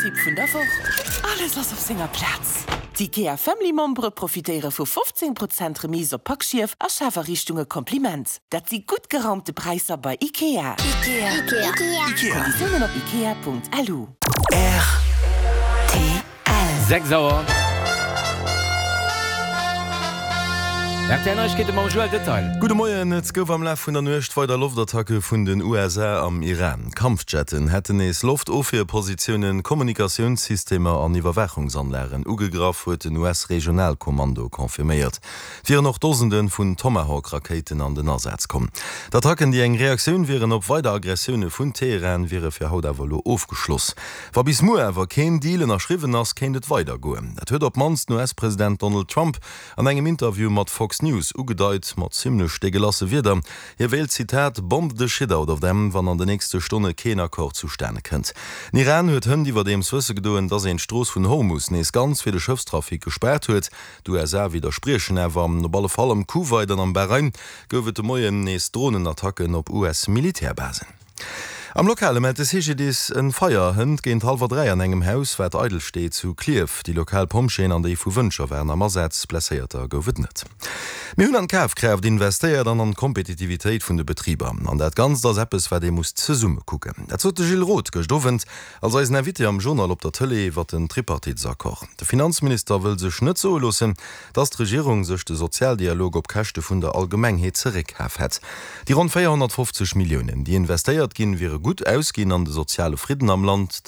Tipp vun der Woch, Alles ass op senger Plaz! D'IKEA Family Membere profitéiere vu 15 Prozent Remise op Packschief a Schafariichtunge Kompliment. Dat si gutt geraumte Präisser bei IKEA. Konditiounen op ikea.lu. Rtl. 6 Auer. Rtl Neiegkeete mam Joël Detail. Gudde Moien, Et gouf am Laf vun der Nuecht weider Loftattacke vun den USA am Iran. Kampfjetten hätten nees Loftofwierpositiounen, Kommunikatiounssystemer an Iwwerwaachungsanlagen ugegraff, huet den US-Regionalkommando confirméiert. Et wieren och Dosende vun Tomahawk-Rakéiten an den Asaz komm. D'Attacken, déi eng Reaktioun wieren op weider Aggressioune vun Teheran, wiere fir haut awer elo ofgeschloss. Wa bis muer awer keen Deal ënnerschriwwen ass, kéint et weider goen. Dat huet op d'mannst den US-President Donald Trump an engem Interview mat Fox News ugedeit, mat zimmlech degelasse Wierder. Hie wéilt, Zitat, bomb the shit out of them, wann an de nächste Stonne keen Accord zustane kënnt. Den Iran huet hënt iwwerdeems wësse gedoen, datt een d'Strooss vun Hormus nees ganz fir de Schëffstrafic gespaart huet. D'USA widderspriechen awer. Op alle Fall am Kuwait an am Bahrain gouf et de Moien nees Dronenattacken op US-Militärbasen. Am Lokale mellt de CGDIS en Feier hënt géint hallwer 3 an engem Haus, wat eidel steet, zu Klierf. Déi lokal Pompjeeën an déi vu Wëntger waren am Asaz, Blesséierter gouf et net. Mir hunn an d'Kafkraaft investéiert an an d'Kompetitivitéit vun de Betriber. An dat Ganzt ass eppes, wat ee muss zesumme kucken. Dat sot de Gilles Roth gëscht Owend als eisen Invité am Journal op der Tëlee iwwer den Tripartitesaccord. De Finanzminister wëll sech net soe loossen, dass d'Regierung sech de Sozialdialog op Käschte vun der Allgemengheet zeréckkaf hätt. Déi ronn 450 Milliounen, déi investéiert ginn, wiere gutt ausginn an de soziale Fridden am Land.